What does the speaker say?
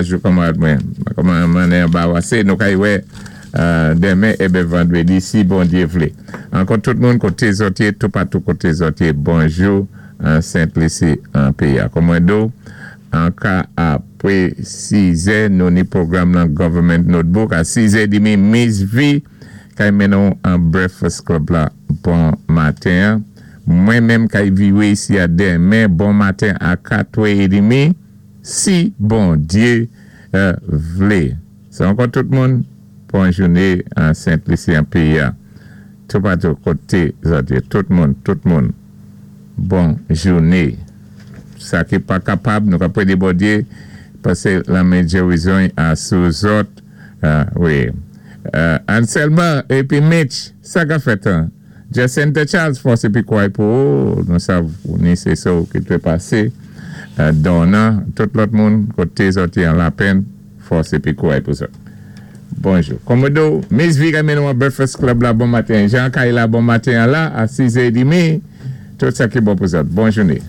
Bonjou kanmarad mwen. Kòman anbawansé, nou kay wè denmen èben vandwédi si Bondyé vlé. Ankò tout moun koté zòt yé, toupatou koté zòt yé, bonjou an Sent Lisi an péyi a. Kòm mwen di w, an ka apwé sizè nou ni pwogram lan Government Notebook a sizè demi Miss V kay mennen w an Breakfast Club la bon maten an. Mwen menm kay viwé isi a denmen bon maten a katwè edemi si Bondye vle. Se ankò tout moun, bon jouné an Sent Lisi an peyi a, toupatou koté zòt yé, tout moun, tout moun, bon jouné. Sa ki pa kapab, nou ka prédé Bondye pasé lanmen gerizon I a sou zòt, wi. Ann sèlman, épi Mitch, sa ka fèt an? Jacinthe Charles fòs épi kouray pou ou, nou sav ou ni sé so ki dwé pasé, Donna, tout lòt moun koté zòt yé an lapenn, Fòs epi kouray pou zòt. Bonjou. Komodo, Miss V renmen nou an Breakfast Club la bon maten. Jean Kay la bon maten an la a 6 è edmi. Tout sa ki bon pou zòt. Bon joune.